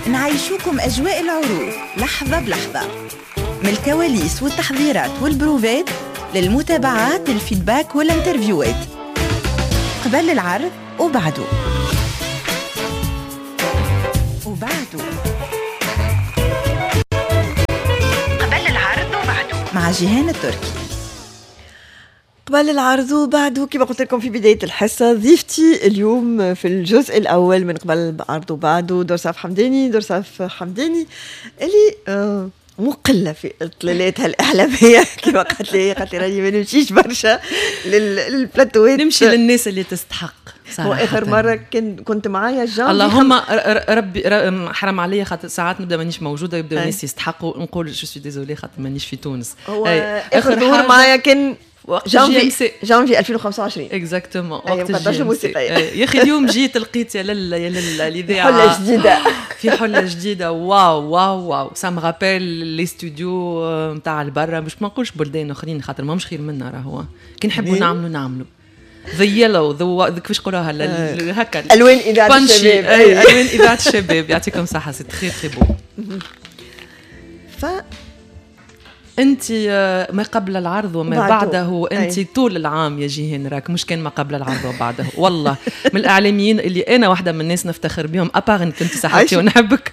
نعيشوكم أجواء العروض لحظة بلحظة، من الكواليس والتحضيرات والبروفات للمتابعات، ال feedback وال interview ات قبل العرض وبعده. قبل العرض وبعده مع جيهان التركي. قبل العرض وبعده، كما قلت لكم في بداية الحصة، ضيفتي اليوم في الجزء الأول من قبل العرض وبعده درصاف حمداني. درصاف حمداني اللي مقلة في اطلالاتها الإعلامية كما قالت لي، قالت لي راني ما نمشيش برشا للبلاتوات، نمشي للناس اللي تستحق صراحة. وآخر مرة كنت معايا جانفي، اللهم ربي حرام عليا، خاطر ساعات نبدا مانيش موجودة يبداو الناس يستحقوا، نقول je suis désolée خاطر مانيش في تونس. هو آخر ظهور معايا كان جانفي 2025 exactement، وقت الموسيقى. يا اخي اليوم جيت لقيت يا لالا يا لالا الاذاعة حله جديدة، في حله جديدة. واو واو واو، ça me rappelle les studios نتاع البرا، باش ما نقولش بلدان اخرين خاطر ماهمش خير منا، راهو كي نحبوا نعملوا the yellow the كيفاش نقولوها هكا الوان اذاعة الشباب. الوان اذاعة الشباب، يعطيكم صحة، c'est très très beau. ف انت ما قبل العرض وما بعده، انت طول العام يا جيهان راك، مش كان ما قبل العرض وبعده. والله من الاعلاميين اللي انا واحدة من الناس نفتخر بهم، à part انك انت صاحبتي ونحبك،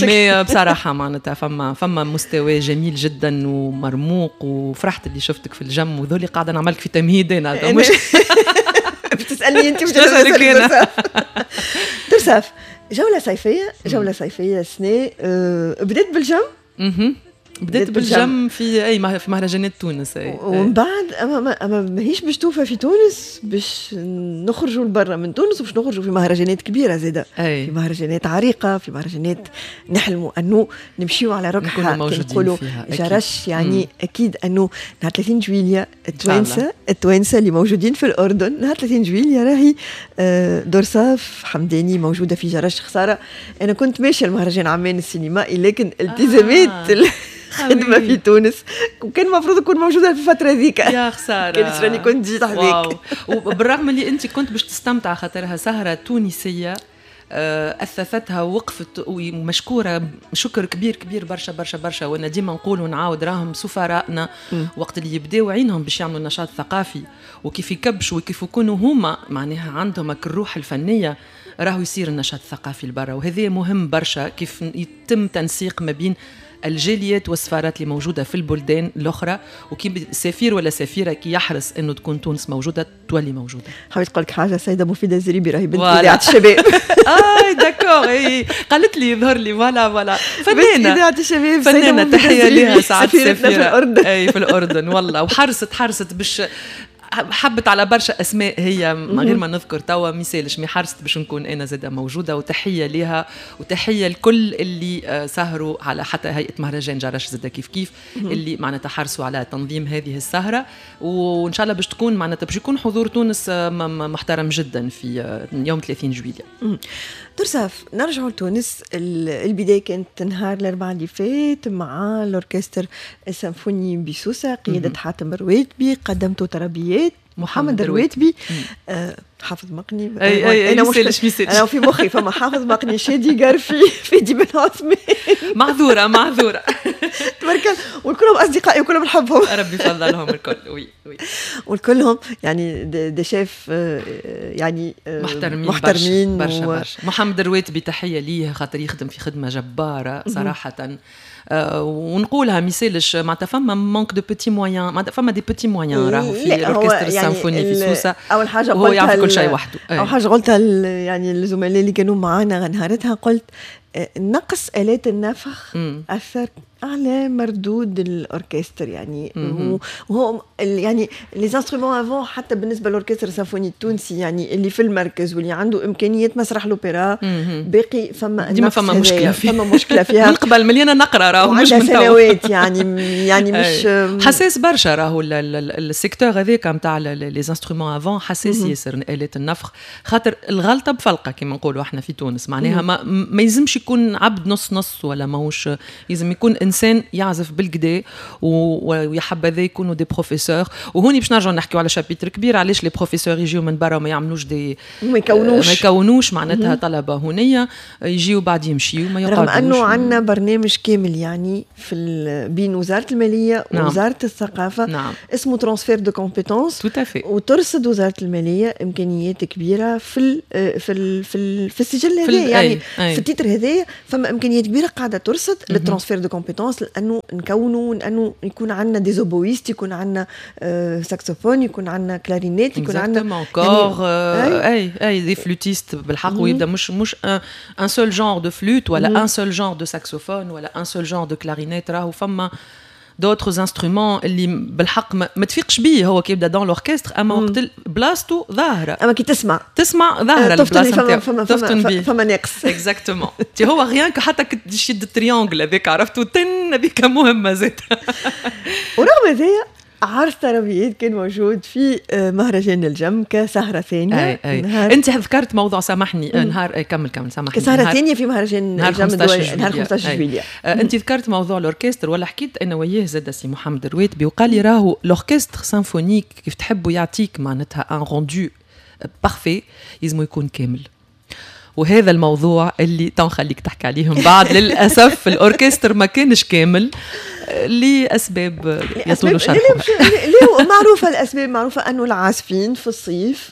mais بصراحة معناتها فما مستوى جميل جدا ومرموق، وفرحت اللي شفتك في الجم، وذولي قاعدة نعملك في تمهيد انا مش بتسالني انت، مش بتسالك انا. درصاف، جولة صيفية، جولة صيفية السنة بدات بالجم. بدأت بالجم في اي في مهرجانات تونس. ومن بعد اما ماهيش باش توفى في تونس، باش نخرجوا لبرا من تونس، وباش نخرجوا في مهرجانات كبيرة زاده، في مهرجانات عريقة، في مهرجانات نحلموا انه نمشيو على ركحه نقولوا جرش يعني. اكيد انه نهار 30 جويليا التوانسة اللي موجودين في الاردن، نهار 30 جويليا راهي درصاف حمداني موجودة في جرش. خسارة انا كنت ماشية المهرجان عمان السينمائي، لكن التزامات خدمة في تونس، وكان المفروض نكون موجودة في الفترة ذيك. يا خسارة، كان راني كنت جيت حذاك. وبالرغم اللي أنت كنت باش تستمتع خاطرها سهرة تونسية أثثتها ووقفت، ومشكورة شكر كبير كبير برشا برشا برشا. وأنا ديما نقول ونعاود، راهم سفرائنا وقت اللي يبداو عينهم باش يعملوا نشاط ثقافي، وكيف يكبشوا وكيف يكونوا هما معناها عندهم الروح الفنية، راهو يصير النشاط الثقافي لبرا. وهذا مهم برشا كيف يتم تنسيق ما بين الجاليات والسفارات اللي موجودة في البلدان الاخرى، وكي سفير ولا سفيره كي يحرص انه تكون تونس موجودة تولي موجودة. حبيت نقول لك حاجة، سيده مفيدة الزريبي راهي بنت اذاعة الشباب. اي d'accord، اي قالت لي يظهر لي voilà voilà فنانة اذاعة الشباب، فنانة، تحية لها سعاد سفيرتنا في الاردن. اي في الاردن والله، وحرصت باش حبت على برشا اسماء هي من غير ما نذكر توا ميسالش، mais حرصت باش نكون انا زاده موجودة، وتحية لها وتحية لكل اللي سهروا على حتى هيئة مهرجان جرش زاده كيف كيف اللي معناتها حرصوا على تنظيم هذه السهرة، وان شاء الله باش تكون معناتها باش يكون حضور تونس محترم جدا في يوم 30 جويلية. درصاف، نرجعوا لتونس. البداية كانت نهار الاربعاء اللي فات مع الاوركستر السيمفوني بسوسه، قيادة حاتم الرواتبي، قدمتوا ترابيات محمد الرواتبي، حافظ مقني. اي انا مش انا في مخي فما حافظ مقني، شادي قرفي، فادي بن عثمان. معذوره تبارك الله، والكلهم اصدقائي وكلهم نحبهم، ربي يفضلهم الكل. oui oui، والكلهم يعني des chefs يعني محترمين برشا برشا. محمد الرواتبي تحية ليه، خاطر يخدم في خدمة جبارة صراحة. ونقولها ميسالش معناتها فما manque de petits moyens، معناتها فما des petits moyens راهو في الاوركستر السيمفوني في سوسة. اول حاجة هو يعرف كل شيء وحده. اول حاجة قلتها يعني الزملاء اللي كانوا معانا نهارتها، قلت نقص آلات النفخ أثر على مردود الأوركستر يعني. وهو يعني les instruments à vent حتى بالنسبة للأوركستر السيمفوني التونسي يعني اللي في المركز واللي عنده إمكانيات مسرح الأوبرا، باقي فما ديما فما مشكلة فيها، فما مشكلة فيها من قبل مليانة نقرة راهو، مش من سنوات يعني مش حساس برشا راهو ال secteur هذاك نتاع les instruments à vent، حساس ياسر آلات النفخ، خاطر الغلطة بفلقة كما نقولوا احنا في تونس، معناها ما يلزمش يكون عبد نص نص ولا ماهوش، لازم يكون انسان يعزف بالقدا، ويا حبذا يكونوا des professeurs. وهوني باش نرجعوا نحكيو على chapitre كبير، علاش les professeurs يجيو من برا وما يعملوش des ما يكونوش معناتها طلبه هنيه، يجيو بعد يمشيو ما يقعدوش. رغم انه عندنا برنامج كامل يعني بين وزارة المالية ووزارة الثقافه، اسمه transfert de compétences. tout à fait. وترصد وزارة المالية امكانيات كبيرة في السجل هذا، يعني أي. في ال titre هذايا فما امكانيات كبيرة قاعدة ترصد لل transfert de compétences، لانه نكونوا، لانه يكون عندنا des oboïstes، يكون عندنا ساكسوفون، يكون عندنا كلارينيت، يكون عندنا cor، اي des flûtistes بالحق، ويبدا مش un seul genre de flûte ولا un seul genre de saxophone ولا un seul genre de clarinette، راهو فما d'autres instruments اللي بالحق ما تفيقش بيه هو كي يبدا dans l'orchestre، اما وقت بلاصتو ظاهره. اما كي تسمع تسمع ظاهره. البلاصة نتاعو، فما فما فما ناقص. exactement، تي هو rien que حتى كي تشد ال triangle هذاك، عرفتو، تن هذيك مهمة زاد. ورغم هذايا عرض طربيات كان موجود في مهرجان الجم كسهرة ثانية. أي أي. نهار أنت ذكرت موضوع، سامحني، نهار، كمل كمل، سامحني. كسهرة ثانية في مهرجان الجم 15، نهار 15 جويلية. أنت ذكرت موضوع الأوركستر، ولا حكيت أنا وياه زاد سي محمد الرويتبي، وقال لي راهو l'orchestre symphonique كيف تحبوا يعطيك معناتها un rendu parfait يلزمو يكون كامل. وهذا الموضوع اللي تو نخليك تحكي عليهم بعد. للاسف الاوركستر ما كانش كامل لاسباب يطول شرحها. ليه معروفه، الاسباب معروفه، انه العازفين في الصيف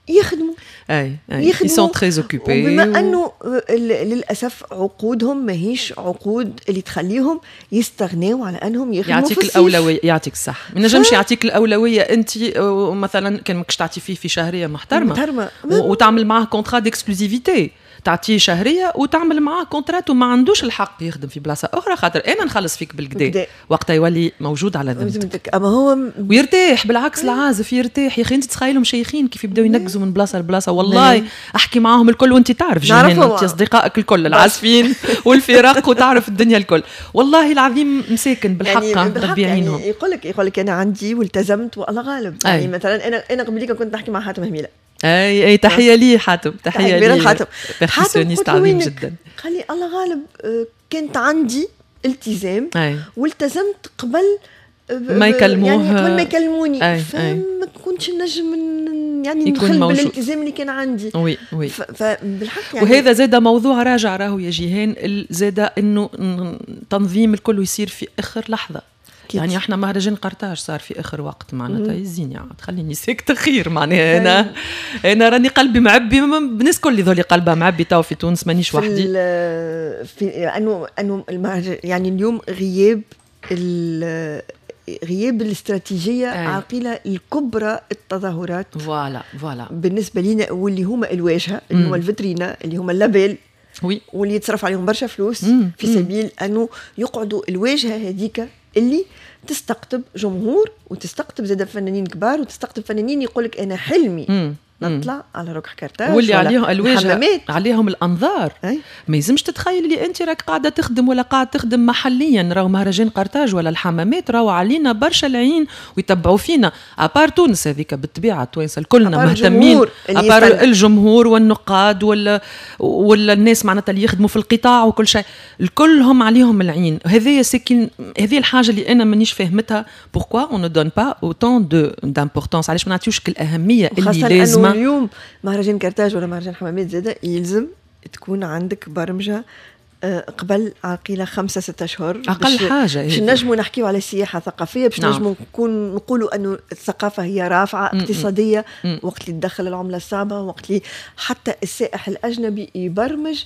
يخدموا. اي، ils sont très occupés. بما انه للاسف عقودهم ماهيش عقود اللي تخليهم يستغنوا على انهم يخدموا. يعطيك في الاولويه، يعطيك الصح، ما نجمش يعطيك الاولوية انت مثلا كان ماكش تعطي فيه في شهرية محترمه محترمه وتعمل معاه contrat d'exclusivité، تعطيه شهرية وتعمل معاه contrat وما عندوش الحق يخدم في بلاصة اخرى، خاطر انا نخلص فيك بالقدا، وقتها يولي موجود على ذمتك. اما هو ويرتاح، بالعكس العازف يرتاح. يا اخي انت تخيلهم شيخين كيف يبداو ينقزوا من بلاصة لبلاصه، والله احكي معاهم الكل، وانت تعرف جيهان، انت اصدقائك الكل العازفين والفرق وتعرف الدنيا الكل، والله العظيم مساكن بالحق. يعني ربي يعينهم. يعني يقول لك انا عندي والتزمت والله غالب. يعني مثلا انا قبليك كنت نحكي مع حاتم هميله. اي اي، تحية لي حاتم، تحية لي. حاتم. percussionniste عظيم جدا. قال لي الله غالب، كانت عندي التزام والتزمت قبل ما يكلموه. يعني قبل ما يكلموني، فما كنتش نجم يعني نخل بالالتزام اللي كان عندي. oui oui. فبالحق يعني وهذا زاد موضوع راجع راهو يا جيهان، زاد انه تنظيم الكل يصير في اخر لحظه. يعني احنا مهرجان قرطاج صار في اخر وقت، معناتها يزيني عاد خليني ساكته خير. معناها انا راني قلبي معبي، الناس الكل يظل قلبها معبي تو في تونس، مانيش وحدي. في انه المهرجان يعني اليوم غياب الاستراتيجية عقيله الكبرى التظاهرات voilà voilà. بالنسبة لنا، واللي هما الواجهه، اللي هما الفيترينا، اللي هما ال label واللي يتصرف عليهم برشا فلوس في سبيل انه يقعدوا الواجهة هذيك اللي تستقطب جمهور وتستقطب زاد فنانين كبار وتستقطب فنانين يقول لك انا حلمي نطلع على ركح كرتاج. واللي عليهم الواجهه، عليهم الانظار. أي؟ ما يلزمش تتخيل اللي انت راك قاعدة تخدم ولا قاعد تخدم محليا، راهو مهرجان قرطاج ولا الحمامات راهو علينا برشا العين ويتبعوا فينا، à part تونس هذيك بالطبيعه، التوانسة كلنا مهتمين، à part الجمهور والنقاد ولا الناس معناتها اللي يخدموا في القطاع وكل شيء، الكلهم عليهم العين. هذه c'est que هذه الحاجة اللي انا مانيش فاهمتها، pourquoi on ne donne pas autant d'importance، علاش ما نعطيوش الاهمية اللي لازمه؟ اليوم مهرجان كرتاج ولا مهرجان حمامات زاده يلزم تكون عندك برمجة قبل عقيلة 5-6 أشهر. أقل حاجة. باش نجموا نحكيو على سياحة ثقافية، باش نجموا نكون نقولوا أنه الثقافة هي رافعة اقتصادية وقت اللي تدخل العملة الصعبة، وقت اللي حتى السائح الأجنبي يبرمج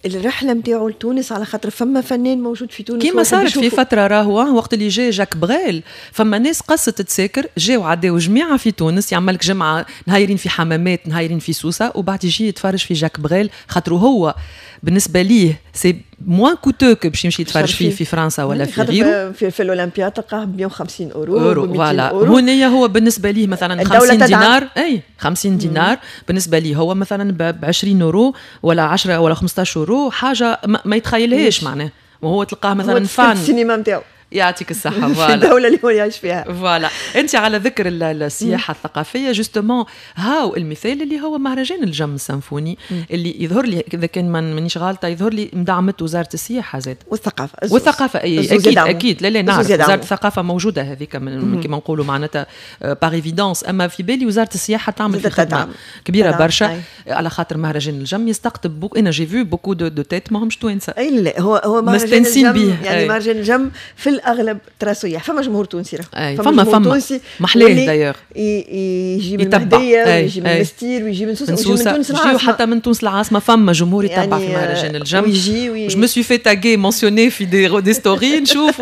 الرحلة نتاعو لتونس على خاطر فما فنان موجود في تونس. كيما صارت في فترة راهو وقت اللي جاي جاك بريل، فما ناس قصت تساكر، جاو عداو جميعه في تونس، يعمل لك جمعه نهايرين في حمامات، نهايرين في سوسه، وبعد يجي يتفرج في جاك بريل، خاطر هو بالنسبة ليه c'est moins coûteux que باش يمشي يتفرج فيه في فرنسا ولا في غيره. في الاولمبياد تلقاه ب 150 اورو. اورو، voilà. هنا هو بالنسبة ليه مثلا 50 دينار، اي 50 دينار بالنسبة ليه هو مثلا ب 20 اورو ولا 10 ولا 15 اورو، حاجة ما يتخيلهاش معناه، وهو تلقاه مثلا fan السينما نتاعو. يعطيك الصحه. voilà، في الدولة اللي هو يعيش فيها. voilà، انت على ذكر السياحة الثقافيه، justement هاو المثال اللي هو مهرجان الجم السيمفوني، اللي يظهر لي، اذا كان مانيش غالطه، يظهر لي مدعمته وزارة السياحة زاد. والثقافه. والثقافه، اي اكيد اكيد. لا لا، نعرف وزارة الثقافة موجودة هذيك من كما نقولوا معناتها par évidence، اما في بالي وزارة السياحة تعمل في خدمة كبيرة برشا، على خاطر مهرجان الجم يستقطب beaucoup، انا j'ai vu beaucoup de têtes ماهمش توانسه. اي لا، هو هو مهرجان الجم، يعني مهرجان الجم في الاغلب ترى سياح، فما جمهور تونسي. راه فما فما محلاه d'ailleurs. يجي من المهدية ويجي من المستير ويجي من سوسة ويجي من تونس العاصمه، حتى من تونس العاصمة فما جمهور يتبع يعني في مهرجان الجم. ويجي je me suis fait taguer، mentionner في des stories نشوف.